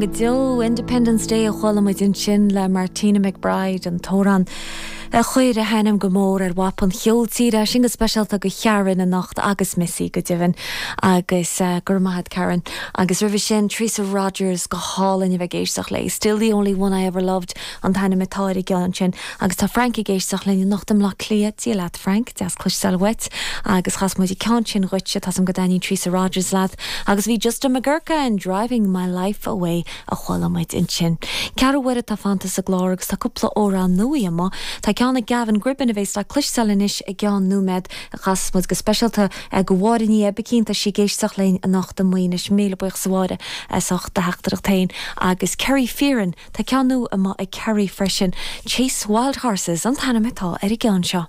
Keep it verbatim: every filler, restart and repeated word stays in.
Go deo Independence Day a chuala muid ansin le Martina McBride an t-amhrán a chuir a hainm go mór ar mhapa an cheoil tíre sin go speisialta do Karen anocht agus Missy go deimhin agus uh, gur maith Karen agus roimhe sin Teresa Rogers go hálainn a bheith ag éisteacht léi. Still the only one I ever loved an t-ainm atá ar an gceann sin agus tá Frank ag éisteacht linn anocht i mBaile Átha Cliath Dia leat Frank deas cloisteáil uait agus chas muid an ceann sin dhuit tá go dtaitníonn Teresa Rogers leat agus bhí Justin McGurka and driving my life away a chuala muid ansin. Ceathrú uaire atá fanta sa gclár agus tá cúpla amhrán nua amuigh Tá ceann ag Gavin Gribbin a bheas le cloisteáil anois i gceann nóiméad a chas muid go speisialta do Mháire Ní Oibicín tá sí ag éisteacht linn anocht i Maínis míle buíochas a Mháire as ucht do theachtaireacht féin agus Kerry Fearon Tá ceann nua amuigh ag Kerry freisin Chase Wild Horses an t-ainm atá ar an gceann seo.